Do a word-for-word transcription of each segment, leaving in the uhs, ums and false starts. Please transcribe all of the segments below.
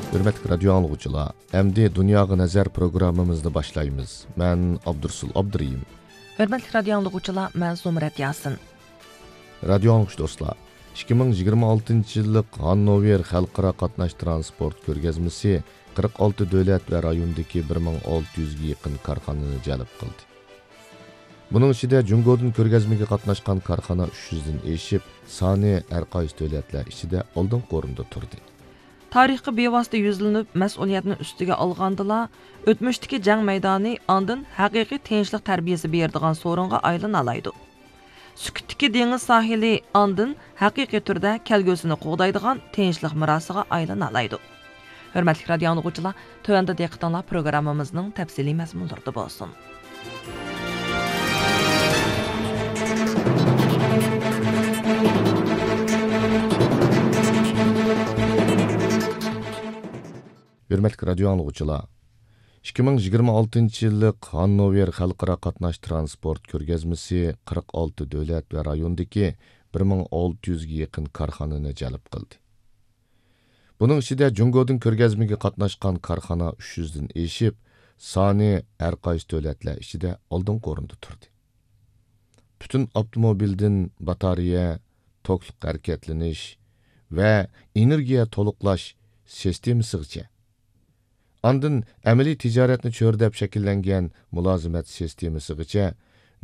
ھۆرمەتلىك رادىيو ئاڭلىغۇچىلار، ئەمدى دۇنياغا نەزەر پروگراممىمىزنى باشلايمىز. مەن ئابدۇرسۇل ئابدۇرېھىم. ھۆرمەتلىك رادىيو ئاڭلىغۇچىلار، مەن زۇمرەت ياسىن. رادىيو ئاڭلىغۇچى دوستلار، ئىككى مىڭ يىگىرمە ئالتىنچى يىللىق ھاننوۋېر خەلقئارا قاتناش ترانسپورت كۆرگەزمىسى قىرىق ئالتە دۆلەت ۋە رايوندىكى بىر مىڭ ئالتە يۈزگە يېقىن كارخانىنى جەلپ قىلدى. بۇنىڭ ئىچىدە جۇڭگودىن كۆرگەزمىگە قاتناشقان كارخانا ئۈچ يۈزدىن ئېشىپ، سانى ھەر قايسى دۆلەتلەر ئىچىدە ئالدىنقى ئورۇندا تۇردى. تارىخقا بىۋاسىتە يۈزلىنىپ، مەسئۇلىيەتنى ئۈستىگە ئالغاندىلا، ئۆتمۈشتىكى جەڭ مەيدانى ئاندىن ھەقىقىي تىنچلىق تەربىيەسى بېرىدىغان سورۇنغا ئايلىنالايدۇ. سۈكۈتتىكى دېڭىز ساھىلى ئاندىن ھەقىقىي تۈردە كەلگۈسىنى قوغدايدىغان تىنچلىق مىراسىغا ئايلىنالايدۇ. ھۆرمەتلىك رادىيو ئاڭلىغۇچىلار، تۆۋەندە دىققىتىڭلار پروگراممىمىزنىڭ تەپسىلىي مەزمۇنلىرىدا بولسۇن. ھۆرمەتلىك رادىيو ئاڭلىغۇچىلار، ئىككى مىڭ يىگىرمە ئالتىنچى يىللىق ھاننوۋېر خەلقئارا قاتناش ترانسپورت كۆرگەزمىسى قىرىق ئالتە دۆلەت ۋە رايوندىكى بىر مىڭ ئالتە يۈزگە يېقىن كارخانىنى جەلپ قىلدى. بۇنىڭ ئىچىدە جۇڭگودىن كۆرگەزمىگە قاتناشقان كارخانا ئۈچ يۈزدىن ئېشىپ، سانى ھەر قايسى دۆلەتلەر ئىچىدە ئالدىنقى ئورۇندا تۇردى. پۈتۈن ئاپتوموبىلدىن باتارېيە، توكلۇق ھەرىكەتلىنىش ۋە ئېنېرگىيە تولۇقلاش سىستېمىسىغىچە، ئاندىن ئەمەلىي تىجارەتنى چۆرىدەپ شەكىللەنگەن مۇلازىمەت سىستېمىسىغىچە،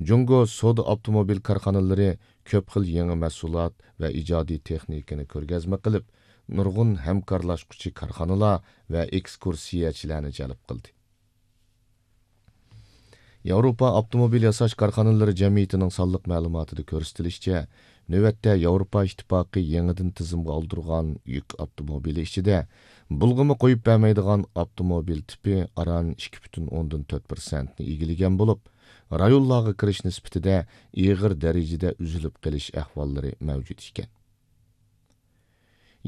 جۇڭگو سودا ئاپتوموبىل كارخانىلىرى كۆپ خىل يېڭى مەھسۇلات ۋە ئىجادىي تېخنىكىنى كۆرگەزمە قىلىپ، نۇرغۇن ھەمكارلاشقۇچى كارخانىلار ۋە ئېكسكۇرسىيەچىلەرنى جەلپ قىلدى. ياۋروپا ئاپتوموبىل ياساش كارخانىلىرى جەمئىيىتىنىڭ سانلىق مەلۇماتىدا كۆرسىتىلىشىچە، نۆۋەتتە ياۋروپا ئىتتىپاقى يېڭىدىن تىزىمغا ئالدۇرغان يۈك ئاپتوموبىلى ئىچىدە بۇلغىما قويۇپ بەرمەيدىغان ئاپتوموبىل تىپى ئاران ئىككى پۈتۈن ئوندىن تۆت پىرسەنتنى ئىگىلىگەن بولۇپ، رايونلارغا كىرىش نىسبىتىدە ئېغىر دەرىجىدە ئۈزۈلۈپ قېلىش ئەھۋاللىرى مەۋجۇت ئىكەن.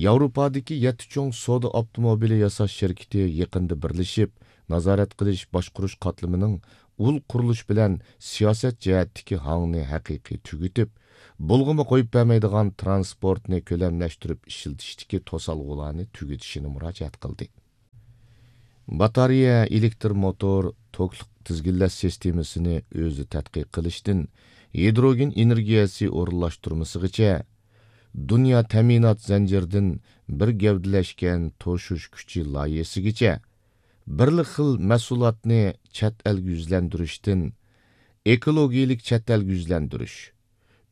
ياۋروپادىكى يەتتە چوڭ سودا ئاپتوموبىلى ياساش شىركىتى يېقىندا بىرلىشىپ، نازارەت قىلىش باشقۇرۇش قاتلىمىنىڭ ئۇل قۇرۇلۇش بىلەن سىياسەت جەھەتتىكى ھاڭنى ھەقىقىي تۈگىتىپ، بۇلغىما قويۇپ بەرمەيدىغان ترانسپورتنى كۆلەملەشتۈرۈپ ئىشلىتىشتىكى توسالغۇلارنى تۈگىتىشىنى مۇراجىئەت قىلدى. باتارېيە، ئېلېكتر موتور، توكلۇق تىزگىنلەش سىستېمىسىنى ئۆزى تەتقىق قىلىشتىن، ھىدروگېن ئېنېرگىيەسى ئورۇنلاشتۇرمىسىغىچە، دۇنيا تەمىنات زەنجىرىدىن بىر گەۋدىلەشكەن توشۇش كۈچى لايىھەسىگىچە، بىرلا خىل مەھسۇلاتنى چەت ئەلگە يۈزلەندۈرۈشتىن، ئېكولوگىيىلىك چەت ئەلگە يۈزلەندۈرۈش،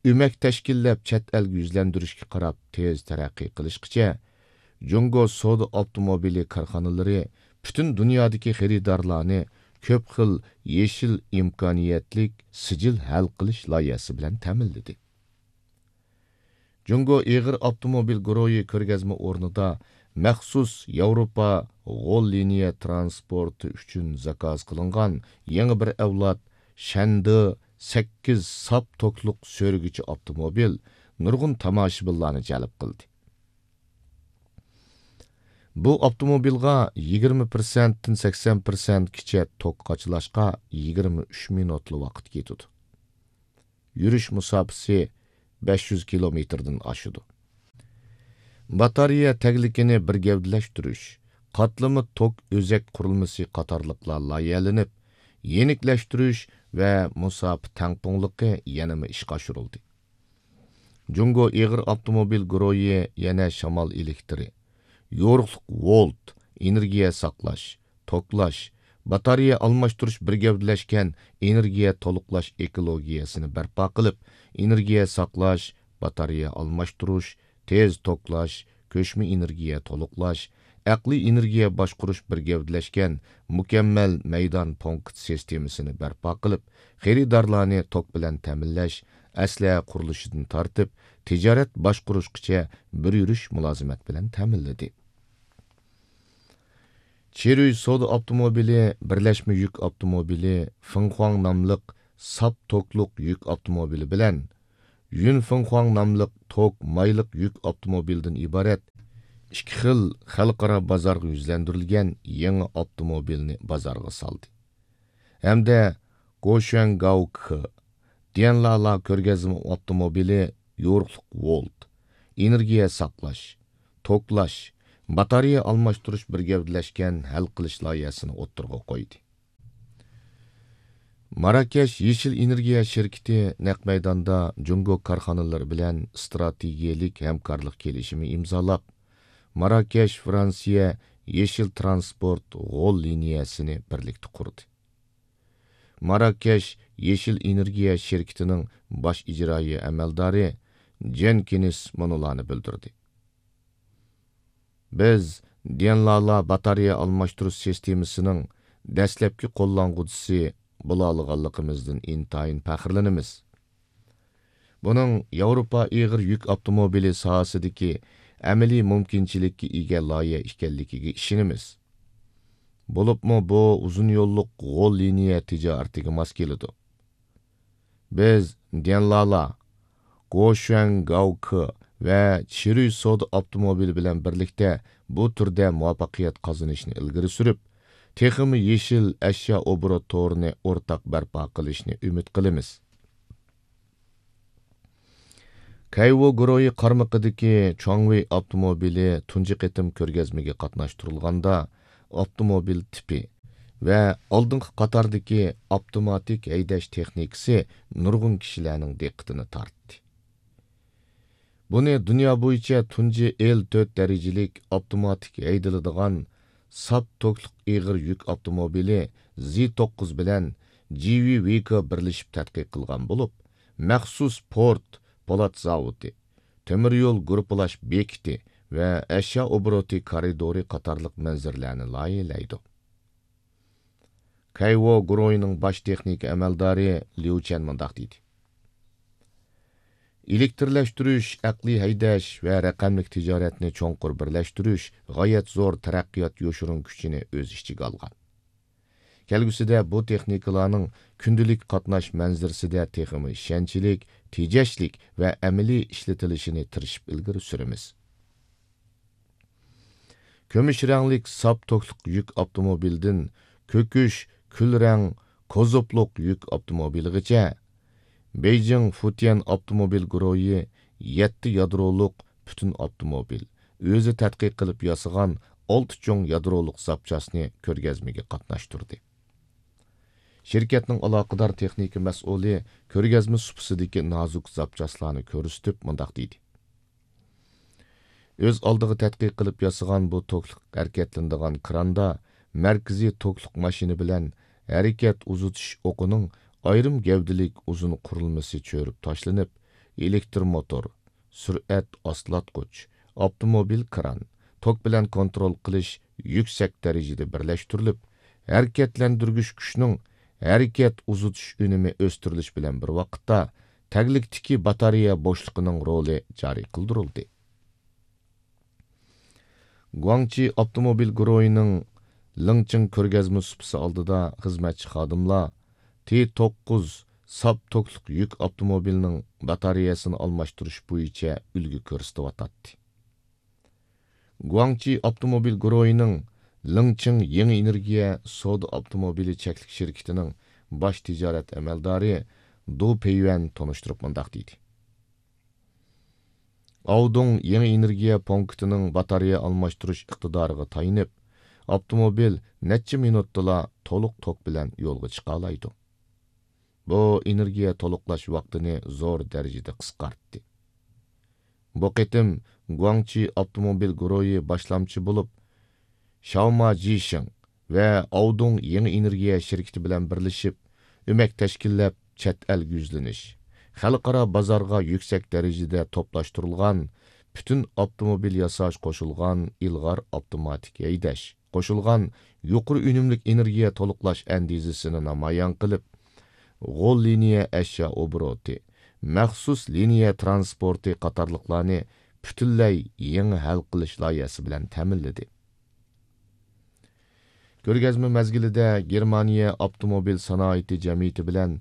ئۆمەك تەشكىللەپ چەت ئەلگە يۈزلەندۈرۈشكە قاراپ تېز تەرەققىي قىلىشقىچە، جۇڭگو سودا ئاپتوموبىلى كارخانىلىرى پۈتۈن دۇنيادىكى خېرىدارلارنى كۆپ خىل يېشىل ئىمكانىيەتلىك سىجىل ھەل قىلىش لايىھەسى بىلەن تەمىنلىدى. جۇڭگو ئېغىر ئاپتوموبىل گۇرۇھى كۆرگەزمە ئورنىدا مەخسۇس ياۋروپا غول لىنىيە ترانسپورتى ئۈچۈن زاكاز قىلىنغان يېڭى بىر ئەۋلاد شەندې سەككىز ساپ توكلۇق سۆرىگۈچى ئاپتوموبىل نۇرغۇن تاماشىبىنلارنى جەلپ قىلدى. بۇ ئاپتوموبىلغا يىگىرمە پىرسەنتتىن سەكسەن پىرسەنتكىچە توك قاچىلاشقا يىگىرمە ئۈچ مىنۇتلا ۋاقىت كېتىدۇ. يۈرۈش مۇساپىسى بەش يۈز كىلومېتىردىن ئاشىدۇ. باتارېيە تەگلىكىنى بىر گەۋدىلەشتۈرۈش، قاتلىما توك ئۆزەك قۇرۇلمىسى قاتارلىقلار لايىھەلىنىپ، يېنىكلەشتۈرۈش ۋە مۇساپە تەڭپۇڭلۇقى يەنىمۇ ئىشقا ئاشۇرۇلدى. جۇڭگو ئېغىر ئاپتوموبىل گۇرۇھى يەنە شامال ئېلېكتىرى، يورۇقلۇق ۋولت، ئېنېرگىيە ساقلاش، توكلاش، باتارېيە ئالماشتۇرۇش بىر گەۋدىلەشكەن ئېنېرگىيە تولۇقلاش ئېكولوگىيەسىنى بەرپا قىلىپ، ئېنېرگىيە ساقلاش، باتارېيە ئالماشتۇرۇش، تېز توكلاش، كۆچمە ئېنېرگىيە تولۇقلاش، ئەقلىي ئېنېرگىيە باشقۇرۇش بىر گەۋدىلەشكەن مۇكەممەل مەيدان پونكىت سىستېمىسىنى بەرپا قىلىپ، خېرىدارلارنى توك بىلەن تەمىنلەش، ئەسلىھە قۇرۇلۇشىدىن تارتىپ، تىجارەت باشقۇرۇشقىچە بىر يۈرۈش مۇلازىمەت بىلەن تەمىنلىدى. چىرۈي سودا ئاپتوموبىلى بىرلەشمە يۈك ئاپتوموبىلى فېڭخۇاڭ ناملىق ساپ توكلۇق يۈك ئاپتوموبىلى بىلەن يۈن فېڭخۇاڭ ناملىق توك مايلىق يۈك ئاپتوموبىلىدىن ئىبارەت ئىككى خىل خەلقئارا بازارغا يۈزلەندۈرۈلگەن يېڭى ئاپتوموبىلنى بازارغا سالدى ھەمدە گوشۈەنگاۋكې ديەنلالا كۆرگەزمە ئاپتوموبىلى يورۇقلۇق ۋولت، ئېنېرگىيە ساقلاش، توكلاش، باتارېيە ئالماشتۇرۇش بىر گەۋدىلەشكەن ھەل قىلىش لايىھەسىنى ئوتتۇرىغا قويدى. ماراكەش يېشىل ئېنېرگىيە شىركىتى نەق مەيداندا جۇڭگو كارخانىلىرى بىلەن ئىستراتېگىيەلىك ھەمكارلىق كېلىشىمى ئىمزالاپ، ماراكەش فرانسىيە يېشىل ترانسپورت غول لىنىيەسىنى بىرلىكتە قۇردى. ماراكەش يېشىل ئېنېرگىيە شىركىتىنىڭ باش ئىجرائىي ئەمەلدارى جېنكىنس مۇنۇلارنى بىلدۈردى. بىز ديەنلالا باتارېيە ئالماشتۇرۇش سىستېمىسىنىڭ دەسلەپكى قوللانغۇچىسى بولالىغانلىقىمىزدىن ئىنتايىن پەخىرلىنىمىز. بۇنىڭ ياۋروپا ئېغىر يۈك ئاپتوموبىلى ساھەسىدىكى ئەمەلىي مۇمكىنچىلىككە ئىگە لايىھە ئىكەنلىكىگە ئىشىنىمىز. بولۇپمۇ بۇ ئۇزۇن يوللۇق غول لىنىيە تىجارىتىگە ماس كېلىدۇ. بىز ديەنلالا، گوشۈەن گاۋكې ۋە چىرۈي سودا ئاپتوموبىلى بىلەن بىرلىكتە بۇ تۈردە مۇۋەپپەقىيەت قازىنىشنى ئىلگىرى سۈرۈپ، تېخىمۇ يېشىل ئەشيا ئوبوروت تورىنى ئورتاق بەرپا قىلىشنى ئۈمىد قىلىمىز. كەيۋو گۇرۇھى قارمىقىدىكى چۇاڭۋېي ئاپتوموبىلى تۇنجى قېتىم كۆرگەزمىگە قاتناشتۇرۇلغاندا، ئاپتوموبىل تىپى ۋە ئالدىنقى قاتاردىكى ئاپتوماتىك ھەيدەش تېخنىكىسى نۇرغۇن كىشىلەرنىڭ دىققىتىنى تارتتى. بۇنى دۇنيا بويىچە تۇنجى ئېل تۆت دەرىجىلىك ئاپتوماتىك ھەيدىلىدىغان ساپ توكلۇق ئېغىر يۈك ئاپتوموبىلى زى توققۇز بىلەن جى ۋى ۋېيكو بىرلىشىپ تەتقىق قىلغان بولۇپ، مەخسۇس پورت، پولات زاۋۇتى، تۆمۈر يول گۇرۇپپىلاش بېكىتى ۋە ئەشيا ئوبوروتى كارىدورى قاتارلىق مەنزىرىلەرنى لايىھەلەيدۇ. كەيۋو گۇرۇھىنىڭ باش تېخنىكا ئەمەلدارى ليۇ چەن مۇنداق دېدى: ئېلېكترلەشتۈرۈش، ئەقلىي ھەيدەش ۋە رەقەملىك تىجارەتنى چوڭقۇر بىرلەشتۈرۈش غايەت زور تەرەققىيات يوشۇرۇن كۈچىنى ئۆز ئىچىگە ئالغان. كەلگۈسىدە بۇ تېخنىكىلارنىڭ كۈندىلىك قاتناش مەنزىرىسىدە تېخىمۇ ئىشەنچلىك، تېجەشلىك ۋە ئەمەلىي ئىشلىتىلىشىنى تىرىشىپ ئىلگىرى سۈرىمىز. كۈمۈش رەڭلىك ساپ توكلۇق يۈك ئاپتوموبىلدىن كۆكۈش، كۈل رەڭ، كوزۇپلۇق يۈك ئاپتوموبىلىغىچە، بېيجىڭ فۇتيەن ئاپتوموبىل گۇرۇھى يەتتە يادرولۇق پۈتۈن ئاپتوموبىل، ئۆزى تەتقىق قىلىپ ياسىغان ئالتە چوڭ يادرولۇق زاپچاسنى كۆرگەزمىگە قاتناشتۇردى. شىركەتنىڭ ئالاقىدار تېخنىكا مەسئۇلى كۆرگەزمە سۇپىسىدىكى نازۇك زاپچاسلارنى كۆرسىتىپ مۇنداق دېدى: ئۆز ئالدىغا تەتقىق قىلىپ ياسىغان بۇ توكلۇق ھەرىكەتلىنىدىغان كراندا مەركىزىي توكلۇق ماشىنا بىلەن ھەرىكەت ئۇزىتىش ئوقىنىڭ ئايرىم گەۋدىلىك ئۇزۇن قۇرۇلمىسى چۆرۈپ تاشلىنىپ، ئېلېكتر موتور، سۈرئەت ئاستىلاتقۇچ، ئاپتوموبىل كران، توك بىلەن كونترول قىلىش يۈكسەك دەرىجىدە بىرلەشتۈرۈلۈپ، ھەرىكەتلەندۈرگۈچ كۈچنىڭ ھەرىكەت ئۇزىتىش ئۈنۈمى ئۆستۈرۈلۈش بىلەن بىر ۋاقىتتا، تەگلىكتىكى باتارېيە بوشلۇقىنىڭ رولى جارى قىلدۇرۇلدى. گۇاڭچى ئاپتوموبىل گۇرۇھىنىڭ لىڭچىڭ كۆرگەزمە سۇپىسى ئالدىدا خىزمەتچى خادىملار تى توققۇز ساپ توكلۇق يۈك ئاپتوموبىلىنىڭ باتارېيەسىنى ئالماشتۇرۇش بويىچە ئۈلگە كۆرسىتىۋاتاتتى. گۇاڭچى ئاپتوموبىل گۇرۇھىنىڭ لىڭچىڭ يېڭى ئېنېرگىيە سودا ئاپتوموبىلى چەكلىك شىركىتىنىڭ باش تىجارەت ئەمەلدارى دۇ پېيۈەن تونۇشتۇرۇپ مۇنداق دېدى: ئاۋدۇڭ يېڭى ئېنېرگىيە پونكىتىنىڭ باتارېيە ئالماشتۇرۇش ئىقتىدارىغا تايىنىپ، ئاپتوموبىل نەچچە مىنۇتتىلا تولۇق توك بىلەن يولغا چىقالايدۇ. بۇ ئېنېرگىيە تولۇقلاش ۋاقتىنى زور دەرىجىدە قىسقارتتى. بۇ قېتىم گۇاڭچى ئاپتوموبىل گۇرۇھى باشلامچى بولۇپ، شاۋما جىشىڭ ۋە ئاۋدۇڭ يېڭى ئېنېرگىيە شىركىتى بىلەن بىرلىشىپ، ئۆمەك تەشكىللەپ، چەت ئەلگە يۈزلىنىش، خەلقئارا بازارغا يۈكسەك دەرىجىدە توپلاشتۇرۇلغان پۈتۈن ئاپتوموبىل ياساش قوشۇلغان ئىلغار ئاپتوماتىك ھەيدەش، قوشۇلغان يۇقىرى ئۈنۈملۈك ئېنېرگىيە تولۇقلاش ئەندىزىسىنى نامايان قىلىپ، غول لىنىيە ئەشيا ئوبوروتى، مەخسۇس لىنىيە ترانسپورتى قاتارلىقلارنى پۈتۈنلەي يېڭى ھەل قىلىش لايىھەسى بىلەن تەمىنلىدى. كۆرگەزمە مەزگىلىدە گېرمانىيە ئاپتوموبىل سانائىتى جەمئىيىتى بىلەن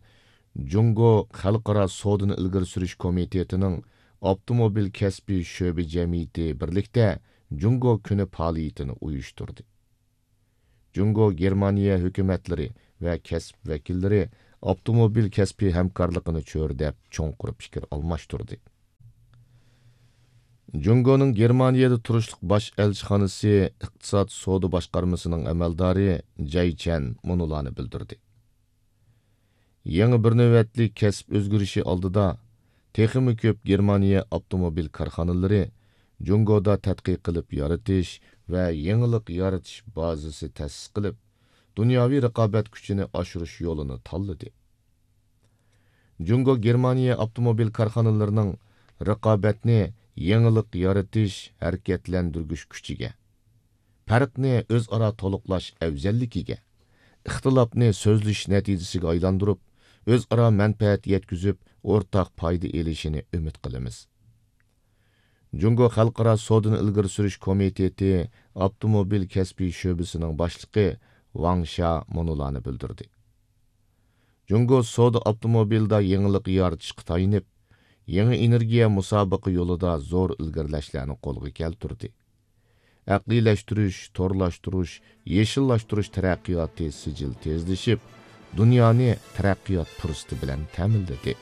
جۇڭگو خەلقئارا سودىنى ئىلگىرى سۈرۈش كومىتېتىنىڭ ئاپتوموبىل كەسپىي شۆبە جەمئىيىتى بىرلىكتە جۇڭگو كۈنى پائالىيىتىنى ئۇيۇشتۇردى. جۇڭگو گېرمانىيە ھۆكۈمەتلىرى ۋە كەسىپ ۋەكىللىرى ئاپتوموبىل كەسپىي ھەمكارلىقىنى چۆرىدەپ، چوڭقۇر پىكىر ئالماشتۇردى. جۇڭگونىڭ گېرمانىيەدە تۇرۇشلۇق باش ئەلچىخانىسى ئىقتىساد سودا باشقارمىسىنىڭ ئەمەلدارى جەي چەن مۇنۇلارنى بىلدۈردى. يېڭى بىر نۆۋەتلىك كەسىپ ئۆزگىرىشى ئالدىدا تېخىمۇ كۆپ گېرمانىيە ئاپتوموبىل كارخانىلىرى جۇڭگودا تەتقىق قىلىپ يارىتىش ۋە يېڭىلىق يارىتىش بازىسى تەسىس قىلىپ، دۇنياۋى رىقابەت كۈچىنى ئاشۇرۇش يولىنى تاللىدى. جۇڭگو گېرمانىيە ئاپتوموبىل كارخانىلىرىنىڭ رىقابەتنى يېڭىلىق يارىتىش ھەرىكەتلەندۈرگۈچ كۈچىگە، پەرقنى ئۆزئارا تولۇقلاش ئەۋزەللىكىگە، ئىختىلاپنى سۆزلىشىش نەتىجىسىگە ئايلاندۇرۇپ، ئۆزئارا مەنپەئەت يەتكۈزۈپ، ئورتاق پايدا ئېلىشىنى ئۈمىد قىلىمىز. جۇڭگو خەلقئارا سودىنى ئىلگىرى سۈرۈش كومىتېتى ئاپتوموبىل كەسپىي شۆبىسىنىڭ باشلىقى ۋاڭ شيا مۇنۇلارنى بىلدۈردى. جۇڭگو سودا ئاپتوموبىلدا يېڭىلىق يارىتىشقا تايىنىپ، يېڭى ئېنېرگىيە مۇسابىقە يولىدا زور ئىلگىرىلەشلەرنى قولغا كەلتۈردى. ئەقلىيلەشتۈرۈش، تورلاشتۇرۇش، يېشىللاشتۇرۇش تەرەققىياتى سىجىل تېزلىشىپ، دۇنيانى تەرەققىيات پۇرسىتى بىلەن تەمىنلىدى.